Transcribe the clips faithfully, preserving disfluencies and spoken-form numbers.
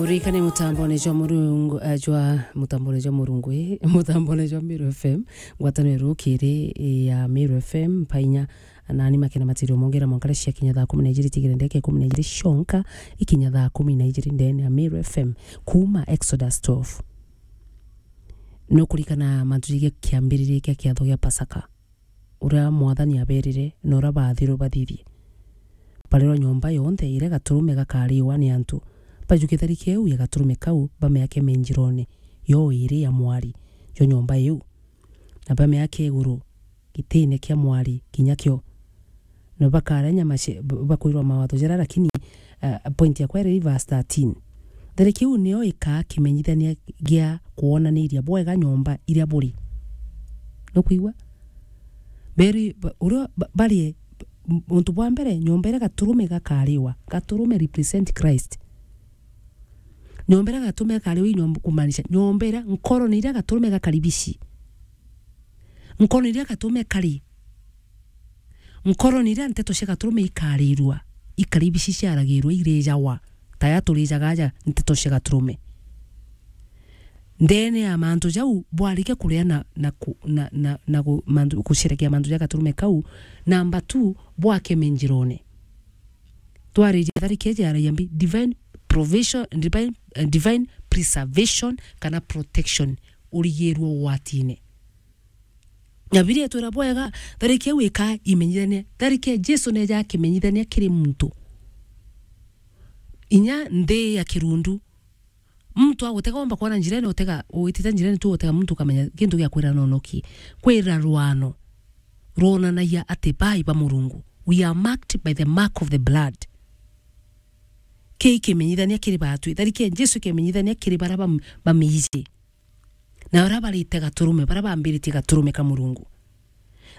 Rikane mutambone jwa Murungu, eh, jwa mutambone jwa Murungu, eh, mutambone jwa Meru F M, ngwataniro rukiri, eh, ya Meru F M, mpainya, nani makena matirio mongera mwankare cia kinya thaa kumi na ijiri tigire ndeke kumi na ijiri cionka, ikinya thaa kumi na ijiri ndene ya Meru F M, kuma Exodus twelve. Nukurikana mantu jige kiambiriria kia kiatho gia Pasaka? Uria Mwathani abeerire, na uria baathirwe bathithie. Bareerwa nyomba yonthe iria gaturume gakaariwa ni antu, bajukie tharike iu ya gaturume kau, bamiake menjiroone yo iiri ya mwari jwa nyomba iu, na bamiake iguru gitiine kia mwari kinya kio. Na bakaria nyama cia, b-, bakwirwa mawatho jaria, lakini, uh, point yakwa iri verse thirteen. Tharike iu niyo ikaa kimenyithania gia kwonaniria bwega nyomba iria buri. Nukwigua? Beri, ba-, uria ba-, barie, m-, untu bwa mbere, nyomba iria gaturume gakaariwa. Gaturume represent Christ. Nyomba iria gaturume gakaariwa, i nyomba, kumaanisha nyomba iria, nkoro ni iria gaturume gakaribici. Nkoro ni iria gaturume kari. Nkoro ni iria nteto cia gaturume ikaarirua, ikaribici ciaragirua, irijawa, ta ya turijaga aja nteto cia gaturume. Ndene ya mantu jau, bwarikia kuria na, na ku-, na, na, na gu-, mantu, gusherekea mantu ja gaturume kau, namba two, bwake menjiroone. Twaririe tharike iji aragia mbi, divine provision, divine, eh, divine preservation kana protection, urigirue ugwatine. Na Bibilia itwira bwega, tharike iu ikaa imenyithania, tharike Jesu neja akimenyithania kiri muntu. Inya nthi ya kirundu, muntu agutega, omba kwona njirene, utega, witite njirene tu, utega muntu, ukamenya gintu gia kwira nono ki. Kwira rwano rwonanagia ati bai ba Murungu. We are marked by the mark of the blood. Kii kimenyithania kiri baatwi. Tharike Jesu kimenyithania kiri baria bam-, bamiiji. Na uria barite gaturume, baria bambiritie gaturume ka Murungu.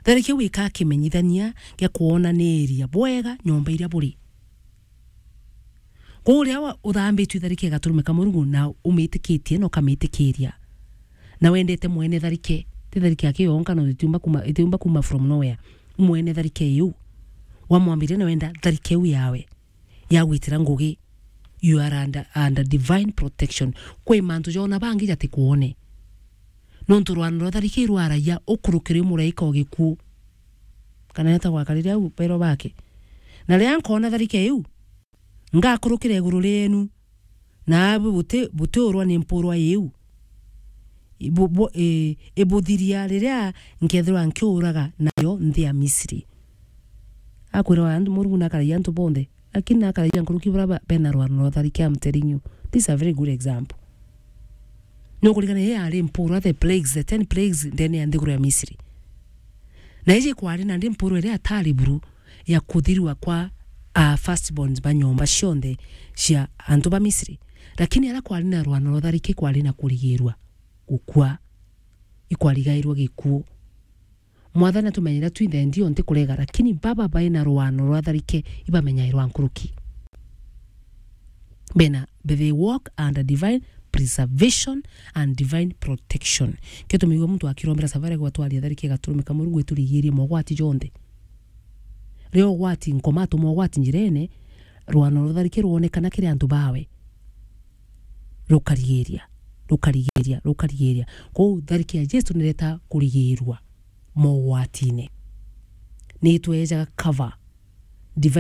Tharike iu ikaa kimenyithania gia kwonaniria bwega nyomba iria buri. Kwou uria wa-, uthambitue tharike gaturume ka Murungu na umitikitie na ukamitikiria, na wendete mwene tharike, ti tharike yake yonka, na itiumba kuma, itiumba kuma from nowhere. Mwene tharike iu, wamwambiria na wenda tharike iu yawe ya gwitira ngugi, you are under, under divine protection. Kwi mantu jona bangi jatikwone. Nontu rwano rwa tharike rwaragia ukurukire muraika o gikuu. Kana eta gwakariria au pero bake. Na riria nkona tharike iu, ngakurukira iguru rienu, na abu buti, butiurwa ni mpurwa iu. Ibu-, bu-, i-, ibuthiria riria nkethirwa nkiuraga nayo nthi ya Misri. Akwira antu, Murungu nakaragia antu bonthe, lakini nakaragia nkuruki baria ba-, bena rwano rwa tharike, I'm telling you. This is a very good example. Nukurikana ii yari mpurwa, the plagues, the ten plagues ndene ya nthiguru ya Misri. Na iji kwari nandi mpurwa iria atari buru ya kuthirua kwa, ah, firstborns ba nyomba cionthe cia antu ba Misri. Lakini aria kwari na rwano rwa tharike kwari na kurigirua gukua, ikwarigairua gikuu. Mwathani atumenyera twinthe ndio nti kurega, lakini baba baina rwano rwa tharike ibamenyairwa nkuruki. Bena, they walk under divine preservation and divine protection. Kio tumeigua muntu akirombera savara gwatwaria tharike gaturume ka Murungu iturigirie mogwati jonthe. Rio gwati nkoma tu mogwati njirene, rwano rwa tharike rwonekana kiri antu bawe. Rukarigiria, rukarigiria, rukarigiria. Kwou tharike ya Jesu nireta kurigirua mogwatine. Nitwejaga cover. Divine